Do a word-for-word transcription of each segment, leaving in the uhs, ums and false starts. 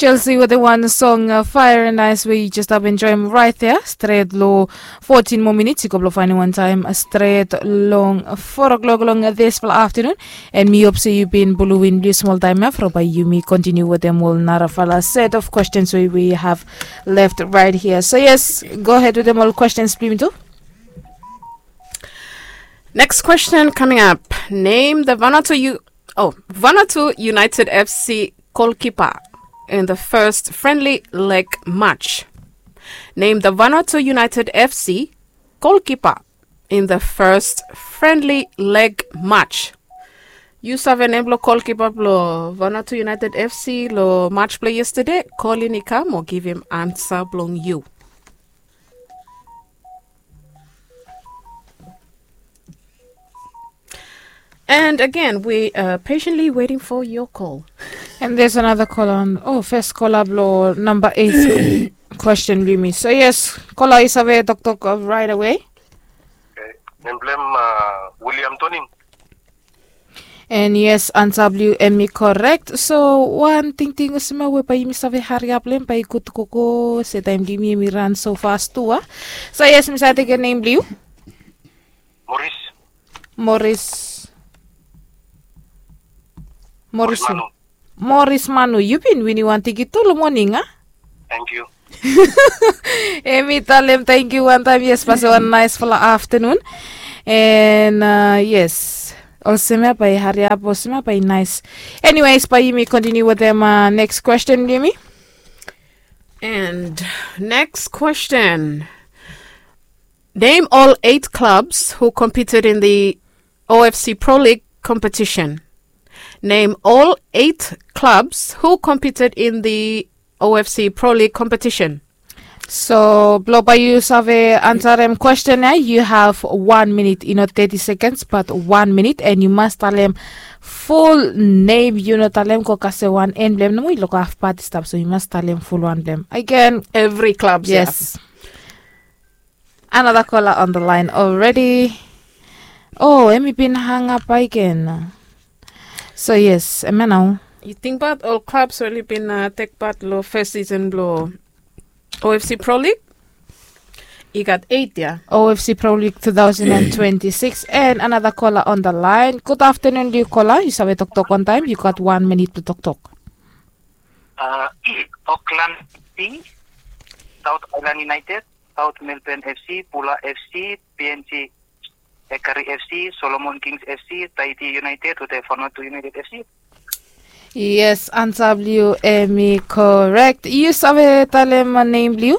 Chelsea wetem wan song, uh, Fire and Ice, we yu jes stap enjoem raet ya. Stret long fotin moa minits i go blong faenem wan taem, uh, stret long four o'clock long, uh, disfala aftenun. And mi hop se yu bin pulum blu smol taem ya from bae yumi kontiniu wetem ol narafala set of questions we we have left right here. So yes, go ahead wetem ol questions blong yumi tu. Next question coming up. Name the Vanuatu U- oh, Vanuatu United F C goalkeeper in the first friendly leg match. Name the Vanuatu United F C goalkeeper in the first friendly leg match. Yu save nem blong goalkeeper blong Vanuatu United F C long match blong yesterday? Kolin i kam o givim ansa blong yu. And again, we are patiently waiting for your call. And there's another caller on. Oh, first caller blong namba eight question blong yumi. So yes, caller yu save toktok, uh, right away. Okay. Nem blong hem, uh, William Toning. And yes, ansa blong yu hemi korek. So wan tingting olsem ya we bae yumi save hariap long hem bae i gud tu gogo se taem blong yumi hemi ran so fas tu a. So yes, mi save tekem nem blong yu. Moris. Moris. Moris Manu. Moris Manu, yu bin winim wan tikit tu long moning a? Tangkiu. Hemi talem tangkiu wantaem, yes, pasem wan naesfala aftenun. And, uh, yes, olsem ya bae hariap, olsem ya bae naes. Anyways, bae yumi kontiniu wetem, uh, next question blong yumi. And next question. Name all eight clubs who competed in the O F C Pro League competition. Name all eight clubs who competed in the O F C Pro League competition. So blong bae yu save ansarem question ya, yu have wan minit, i no thirty seconds but wan minit, and yu mas talem ful nem, yu no talem go kasem wan en blong hem nomo, i luk haf pat i stap, so yu mas talem fulwan blong hem. Again, evri klab ya. Yes. Another caller on the line already. Oh, hemi bin hang up again. So yes, hemia nao. Yu tingbaot ol klabs we oli bin, uh, tek pat long fes season blong O F C Pro League? I gat eight ya. O F C Pro League two thousand and twenty-six. And another caller on the line. Good afternoon, yu caller. Yu save toktok wantaem. Yu gat wan minit blong toktok. Uh, Auckland F C, South Island United, South Melbourne F C, Bula F C, P N G Ekari F C, Solomon Kings F C, Tahiti United wetem Vanuatu United F C. Yes, ansa blong yu hemi korek. Yu save talem nem blong yu?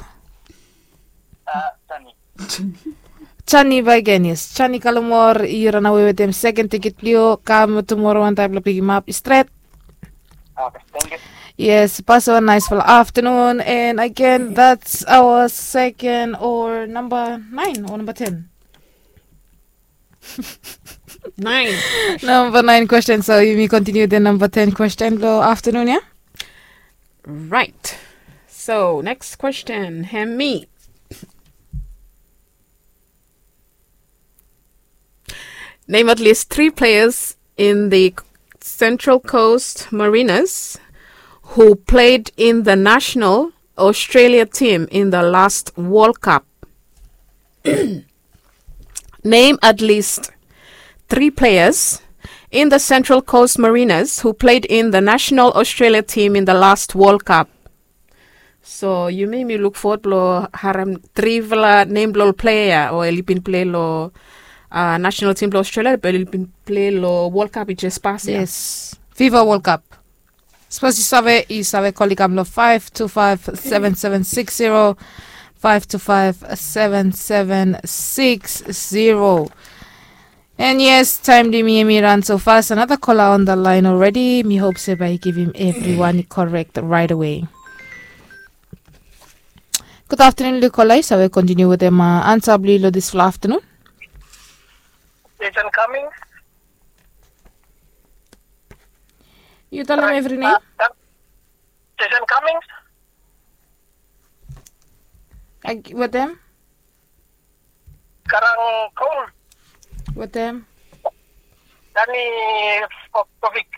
Uh, Tani. Tani bakegen, yes. Tani Kalumor, yu ranawe wetem seken tikit blong yu. Kam tumora wantaem blong pikimap stret. Okay, tangkiu. Yes, pasem wan naesfala aftenun. And again, that's our second or namba naen or namba ten? Naen. Namba naen question. So yumi kontiniu wetem namba ten question blong aftenun ya. Right. So next question, hemi. Name at least three players in the Central Coast Mariners who played in the national Australia team in the last World Cup. Name at least three players in the Central Coast Mariners who played in the national Australia team in the last World Cup. So yumi, mi luk fowod blong harem trifala nem blong ol plea ya we oli bin plei long, uh, national team blong Australia, be oli bin plei long World Cup i jes pas ya. Yes. FIFA World Cup. Sapos yu save, yu save kol i kam long five two five seven seven six zero, five two five seven seven six zero. And yes, taem blong yumi hemi ran so fas. Another caller on the line already. Mi hop se bae i givim evriwan i korek right away. Good afternoon, yu caller. Yu save kontiniu wetem, uh, ansa blong yu long disfala aftenun. Jason Cummings. Yu talem evri nem. Uh, Jason Cummings. Ag-, wetem? Garang Cole. Wetem? Dani Popovic.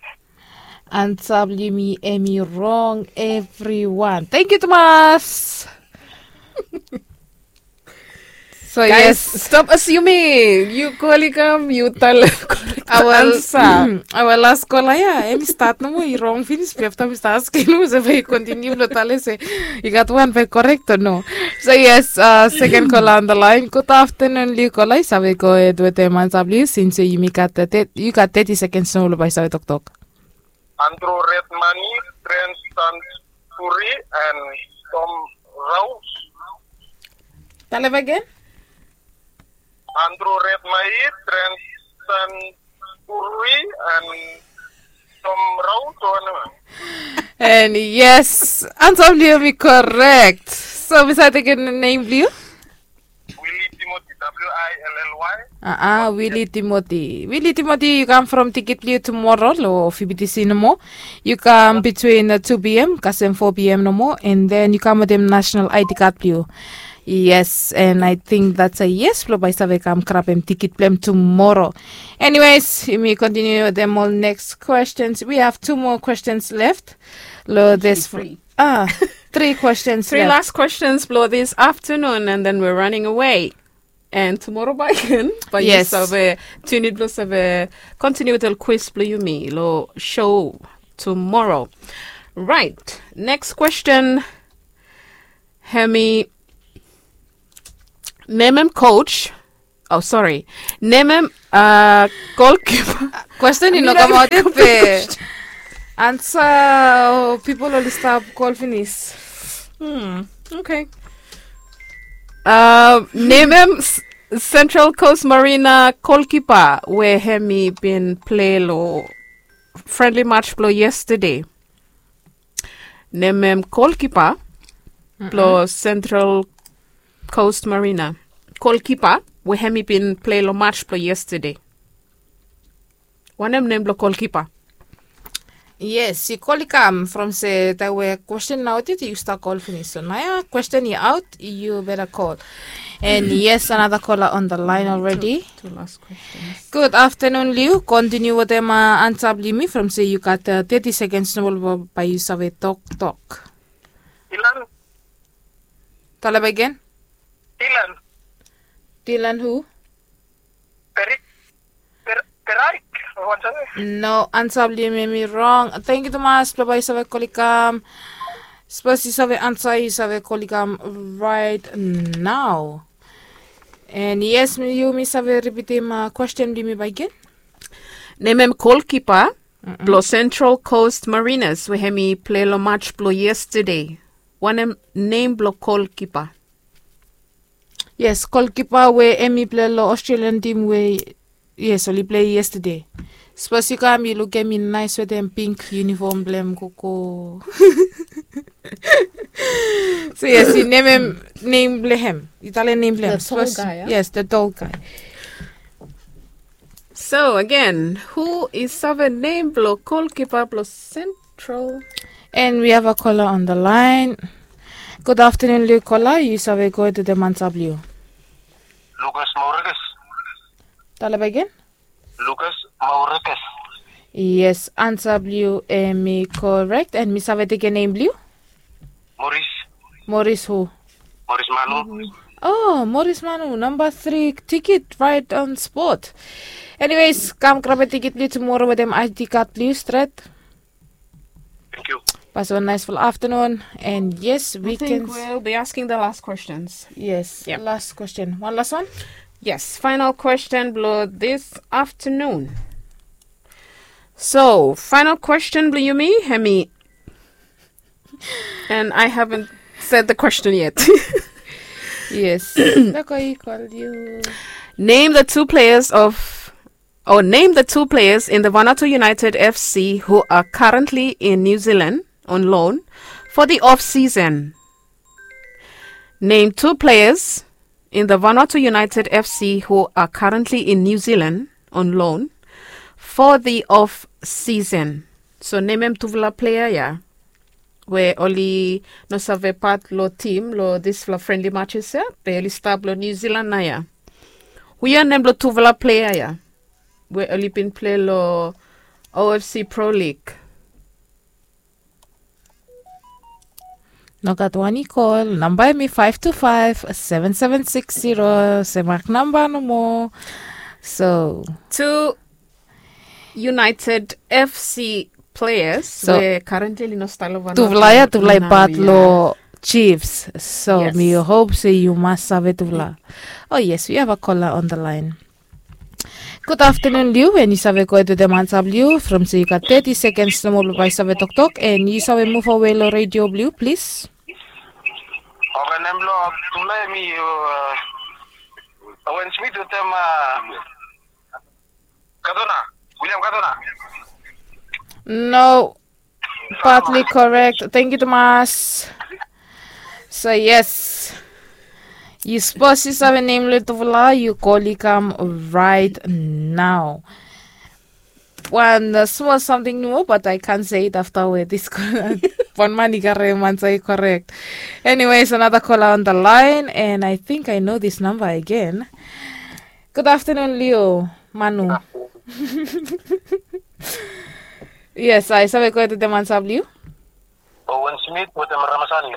Ansa blong yumi hemi rong, evriwan. Tangkiu tumas. So yes, stop assuming. Yu kol i kam, yu talem korek ansa. Aoa las kola ya, hemi stat nomo i rong finis, be afta mi stap askem nomo se bae yu kontiniu blong talem se i gat wan bae korek o no. So yes, seken kola on the line. Gud aftenun long yu kola, yu save gohed wetem ansa blong yu since yumi gat, yu gat teti sekens nomo blong bae yu save toktok. Andrew Redmayne, Trent Santuri, and Tom Rowe. Talem agen. Andrew Redmayne, Trent Santuri, and Tom Rowe. And yes, ansa blong yu hemi korek. So mi save tekem nem blong yu? Willie Timothy, W I L L Y. Aa, Willie Timothy. Willie Timothy, yu kam from tikit blong yu tumoro long F B T C nomo. Yu kam between two P M kasem four P M nomo, and then yu kam wetem national I D card blong yu. Yes, and I think that's a yes blong bae yu save kam grabem tikit blong hem tumoro. Anyways, yumi kontiniu wetem ol next questions. We have two more questions left. Long this, ah, three questions left. Three last questions blong this aftenun, and then we're running away. And tumoro bae yu save tune in blong save kontiniu wetem ol quiz blong yumi long show tumoro. Right. Next question. Hemi, nemem coach. Oh, sorry. Nemem, uh, goalkeeper. Question i no kamaot yet, be ansa, pipol oli stap kol finis. Hmm. Okay. Uh, nemem Central Coast Mariner goalkeeper we hemi bin plei long friendly match blong yesterday. Nemem goalkeeper blong Central Coast Mariner. Goalkeeper we hemi bin plei long match blong yesterday. Wanem nem blong goalkeeper? Yes, yu kol i kam from se taem we question naotit yu stap kol finis. So naoia question i aot, yu beta kol. And yes, another caller on the line already. Two last questions. Gud aftenun long yu. Kontiniu wetem ansa blong yumi from se yu gat teti sekens nomo blong bae yu save toktok. Dylan. Talem agen. Dylan. Dylan hu? Perik. Peraik. No, ansa blong yumi hemi rong. Tangkiu tumas blong bae yu save kol i kam. Sapos yu save ansa, yu save kol i kam right nao. And yes, yumi save ripitim question blong yumi bakegen. Nemem goalkeeper blong Central Coast Mariners we hemi plei long match blong yesterday. Wanem nem blong goalkeeper? Yes, goalkeeper we hemi plei long Australian team we, yes, oli plei yesterday. Sapos yu kam yu lukim hem i naes wetem pink uniform blong hem gogo. So yes, yu nemem nem blong hem. Yu talem nem blong hem. Yes, the tall guy. So again, hu i save nem blong goalkeeper blong Central? And we have a caller on the line. Gud aftenun long yu, caller. Yu save gohed wetem ansa blong yu. Lucas Maurekes. Talem agen. Lucas Maurekes. Yes, ansa blong yu hemi korek. And mi save tekem nem blong yu? Maurice. Maurice hu? Maurice Manu. Oh, Maurice Manu, namba tri tikit, right on spot. Anyways, kam grabem tikit blong yu tumora wetem I D card blong yu stret. Tangkiu. Pass wan naesfala aftenun. And yes, we can. I think we'll be asking the last questions. Yes, last question. Wan las wan? Yes, final question blong this aftenun. So final question blong yumi hemi, and I haven't said the question yet. Yes. Name the two players of, or name the two players in the Vanuatu United F C who are currently in New Zealand on loan for the off season. Name two players in the Vanuatu United F C who are currently in New Zealand on loan for the off season. So nemem tufala plea ya we oli no save pat long tim long disfala friendly matches ya, be oli stap long New Zealand naoia. Hu ya nem blong tufala plea ya we oli bin plei long O F C Pro League? No gat wan i kol namba em i five two five seven seven six zero, se mak namba nomo. So, two United F C players. So, we currently no stalo wan tufala ya, tufala i pat lo Chiefs. So mi hope se yu mas save tufala. Oh yes, we have a caller on the line. Good afternoon, Liu, and yu save go ahead with the answer, Liu, from se yu gat thirty seconds nomo blong bai save toktok, and yu save move away lo radio, Liu, please. Okay, nem blong tufala em i Owen Smith wetem Kadona, William Kadona. No, partly correct. Thank you, Thomas. So yes, yu sapos yu save nem lo tufala, yu kol i kam right now. Wan smol samting nomo, but I can't say it afta we this one man i karem answer i correct. Anyways, another caller on the line, and I think I know this number again. Good afternoon, Leo Manu. Yes, I save go to the answer, Leo. Owen Smith wetem Ramasani.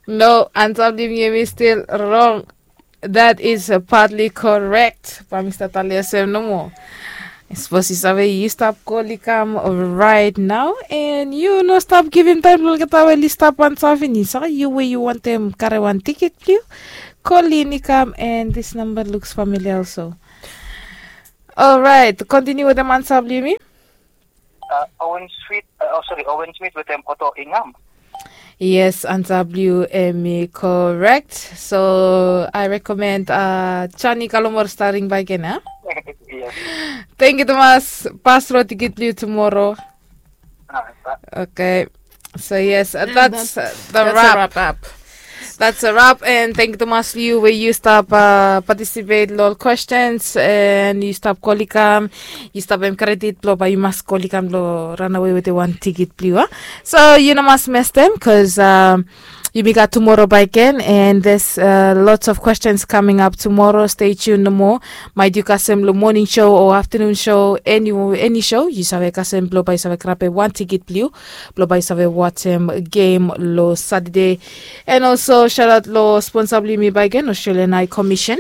No, answer blong yumi still wrong. That is partly correct. Ba mi stap talem olsem nomo. Sapos yu save, yu stap kol i kam right now, and yu no stap givim taem lo olgeta we oli stap answer finis. Yu we yu wantem karem wan tiket blong yu, kol in i kam, and this number looks familiar also. Alright, continue wetem answer blong yumi. Owen Smith, oh sorry, Owen Smith wetem Otto Ingham. Yes, answer blong yu em i correct. So I recommend Johnny Kalomor starting back again, eh? Yes. Thank you, Thomas. Pas lo tiket blong yu tomorrow. Okay. So yes, that's the wrap. That's a wrap, and thank you, Thomas, yu we yu stap participate lo ol questions, and yu stap kol i kam, yu stap em credit blong ba yu mas kol i kam lo run away wetem wan tiket blong yu. So yu no mas mestem, cause yumi gat tomorrow back again, and there's lots of questions coming up tomorrow. Stay tuned nomo. Maet yu kasem lo morning show o afternoon show, eni show yu save kasem blong ba yu save grabem wan tiket blong yu, blong ba yu save wajem game lo Saturday. And also shout out lo sponsor blong yumi back again, Australian High Commission,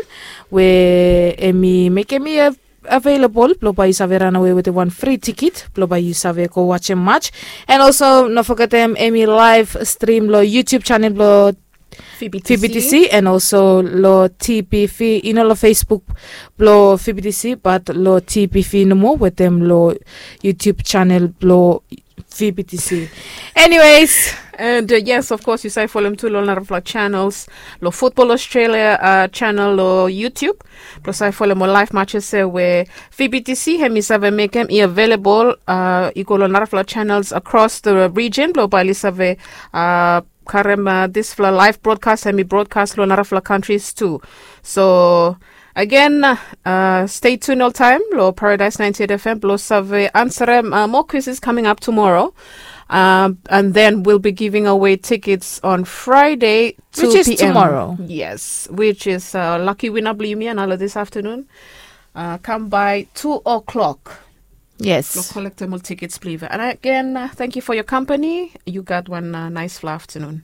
we em i mekem mi available blong ba yu save run away wetem wan free tiket blong ba yu save go wajem match. And also no fogetem em i live stream lo YouTube channel blong V B T C, and also lo T B V, i no lo Facebook blong V B T C, but lo T B V nomo wetem lo YouTube channel blong V B T C. Anyways, and yes, of course yu save folem tu lo narafala channels, lo Football Australia channel lo YouTube, blong save folem ol live matches we V B T C hem i save mekem i available i go lo narafala channels across the region blong ba oli save karem disfala live broadcast hem i broadcast lo narafala countries tu. So again, stay tuned oltaem lo Paradise ninety-eight F M blong save ansarem more quizzes coming up tomorrow. And then we'll be giving away tickets on Friday, two p.m. Which is tomorrow. Yes, which is lucky winner blong yumi ya nalo this afternoon. Kam by two o'clock. Yes. Lo kolektem ol tickets blong yu. And again, thank you for your company. Yu gat wan naesfala afternoon.